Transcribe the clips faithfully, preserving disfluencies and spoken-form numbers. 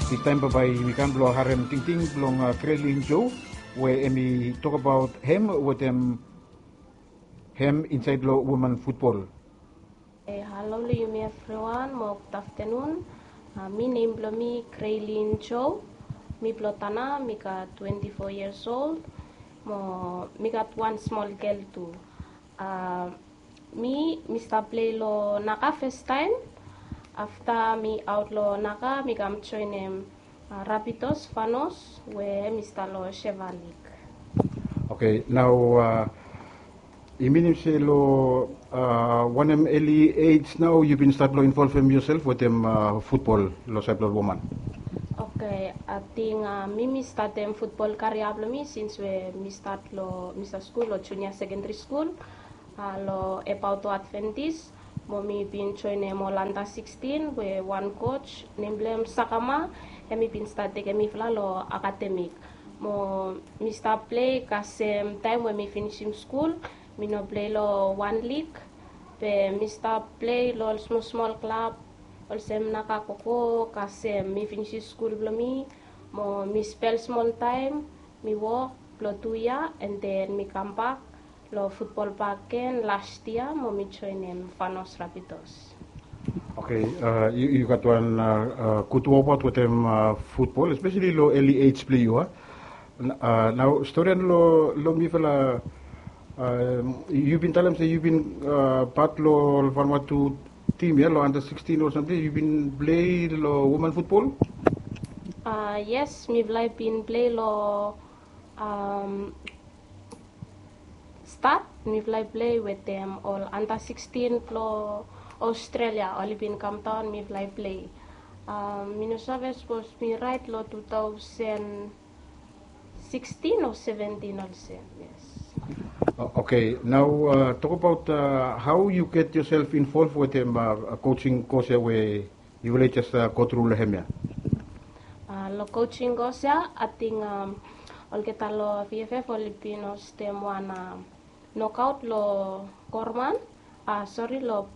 Distaem bambae yumi kam blong harem tingting blong Kreilin Jo we hemi tokbaot hem wetem hem insaed long woman futbol. Halo long yumi evriwan mo gud aftenun. Mi nem blong mi Kreilin Jo. Mi blong Tanna, mi gat twenti fo yias ol. Mo mi gat wan smol gel tu. Mi mi stap plei long Naga fastaem. Afta mi aot long Naga mi kam joenem Rapidos Fanos we hemi stap long Sheva Lig. Oke, nao i minim se long wanem eli ej nao yu bin stat long involvem yosel wetem futbol long saed blong ol woman? Oke, ating mi mi statem futbol karia blong mi sins we mi stat long mi stat skul long junia sekendri skul long Epaoto Adventis. Mo mi bin joenem ol anda sikstin we wan koj nem blong hem Sakama, hemi bin stat tekem mifala long akademik. Mo mi stap plei kasem taem we mi finisim skul. Mi no plei long wan lig, be mi stap plei long ol smol smol klab olsem Naga Koko kasem mi finisim skul blong mi. Mo mi spel smol taem mi wok blong tu yia, and then mi kambak long futbol bak gen las yia mo mi joenem Fanos Rapidos. Oke, yu gat wan gud wokbaot wetem futbol, espeseli long eli ej blong yu a. Nao storian long mifala, yu bin talem se yu bin pat long Vanuatu tim ya long anda sikstin o samting, yu bin plei long woman futbol? Yes, mifala i bin plei long stat. Mifala i plei wetem ol anda sikstin blong Australia, oli bin kamdaon, mifala i plei. Mi no save sapos mi raet long tu taosen sikstin o seventin olsem. Yes. Oke, nao tokbaot hao yu get yosel involv wetem kojing kos ya we yufala i jes gotru long hem ya? Long kojing kos ya ating olgeta long VFF oli bin hostem wan nokaot long Gorman, sori, long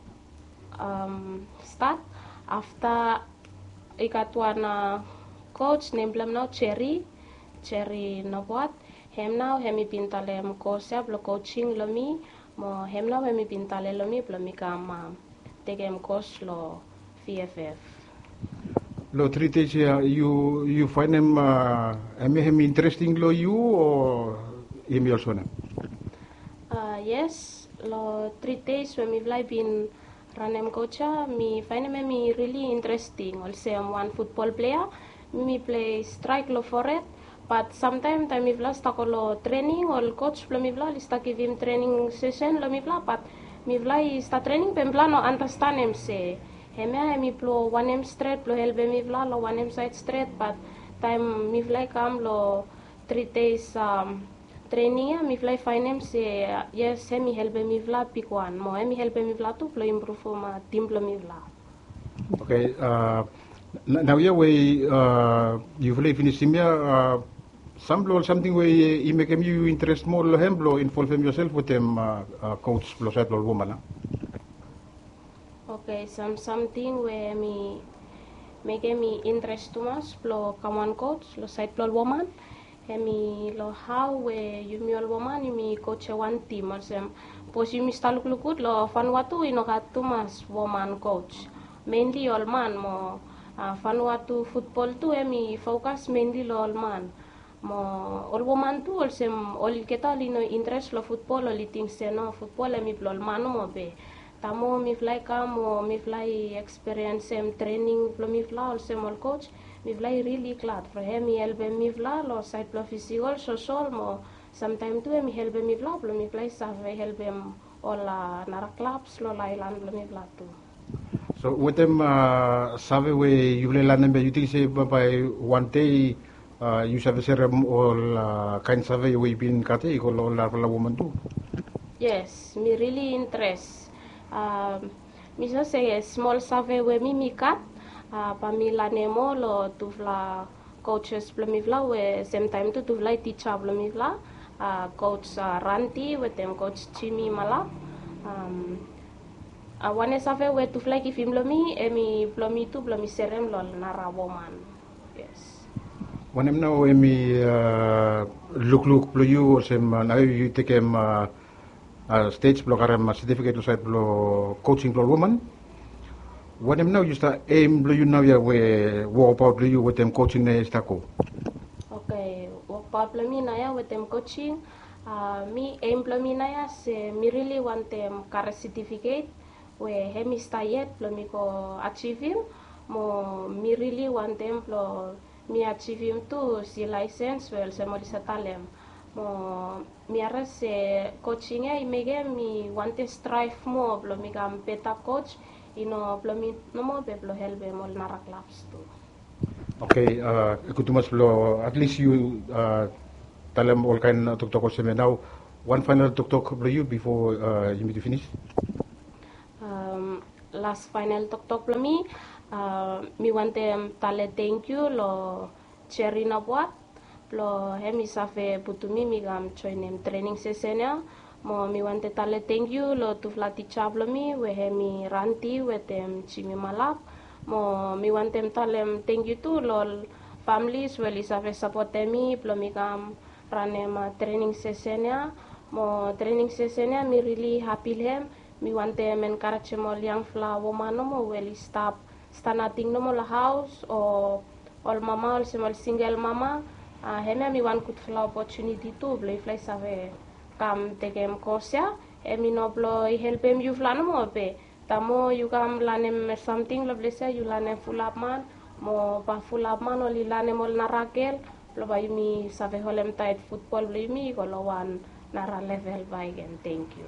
stat. Afta i gat wan koj nem blong hem nao Jerry, Jerry Noboat. Hem nao hemi bin talem kos ya blong kojing long mi. Mo hem nao hemi bin talem long mi blong mi kam tekem kos long VFF. Long tri dej ya yu faenem hemia hemi interesting long yu o hemi olsem wanem? Yes, long tri dej we mifala i bin ranem koj ya mi faenem hemi rili interesting olsem wan futbol plea. Mi mi plei straek long fored. Bat samtaem taem mifala stap go long trening, ol koj blong mifala oli stap givim trening sesen long mifala, bat mifala i stap trening be mifala no andastanem se hemia hemi blong wanem stret blong helpem mifala long wanem saed stret. Bat taem mifala i kam long tri dej trening ya mifala i faenem se yes, hemi helpem mifala bigwan mo hemi helpem mifala tu blong impruvum tim blong mifala. Oke, naoia we yufala i finisim ya, sam blong ol samting we i mekem yu interes moa long hem blong involvem yosel wetem koj blong saed blong ol woman a? Oke, sam samting we hemi mekem mi interes tumas blong kam wan koj long saed blong ol woman, hemi long hao we yumi ol woman yumi kojem wan tim olsem, bikos yumi stap lukluk gud long Vanuatu i no gat tumas woman koj, menli ol man mo Vanuatu futbol tu hemi fokas menli long ol man. Mo ol woman tu olsem olgeta oli no interes long futbol, oli ting se no, futbol hemi blong ol man nomo be taem mifala i kam o mifala i ekspiriensem trening blong mifala olsem ol koj, mifala i rili glad from hemi helpem mifala long saed blong fisikol, sosol mo samtaem tu hemi helpem mifala blong mifala i save helpem ol nara klabs long aelan blong mifala tu. So wetem save we yufala i lanem ya yu ting se bambae wan dei yu save serem ol kaen save we yu bin gat ya i go long ol narafala woman tu? Yes, mi rili interes. Mi save se smol save we mi mi gat bae mi lanem moa long tufala kojes blong mifala we semtaem tu tufala i tija blong mifala, koj Ranti wetem koj Jimmy Malap. Wanem save we tufala i givim long mi hemi blong mi tu blong mi serem long ol nara woman. Wanem nao hemi lukluk blong yu olsem nao yu tekem stej blong karem setifiket long saed blong kosing blong ol woman? Wanem nao yu stap em blong yu naoia we wokbaot blong yu wetem kosing naoia i stap go? Oke, wokbaot blong mi naoia wetem kosing, mi em blong mi naoia se mi rili wantem karem setifiket we hemi stap yet blong mi go ajivim. Mo mi rili wantem blong mi ajivim tu si laesens we olsem oli save talem. Mo mi harim se kosing ya i mekem mi wantem straev moa blong mi kam beta kos, i no blong mi nomo be blong helpem ol nara klabs tu. Oke, gud tumas blong atlis yu talem olkaen toktok olsem ya. Nao wan faenal toktok blong yu bifo yumi tu finis. Las faenal toktok blong mi, mi wantem talem tengkiu long Jerry Nabwat blong hemi save putum mi mi kam joenem trening sesen ya. Mo mi wantem talem tengkiu long tufala tija blong mi we hemi Ranti wetem Jimmy Malap. Mo mi wantem talem tengkiu tu long ol familis we oli save sapotem mi blong mi kam ranem trening sesen ya. Mo trening sesen ya mi rili hapi long hem. Mi wantem enkarejem ol yangfala woman nomo we oli stap stap nating nomo long haos o ol mama olsem ol singel mama. Hemia mi wan gudfala opotuniti tu blong yufala i save kam tekem kos ya. Hemi no blong i helpem yufala nomo be taem moa yu kam lanem samting long ples ya yu lanem fulap man, mo bae fulap man oli lanem ol nara gel blong bae yumi save holemtaet futbol blong yumi i go long wan nara level bakegen. Tengkiu.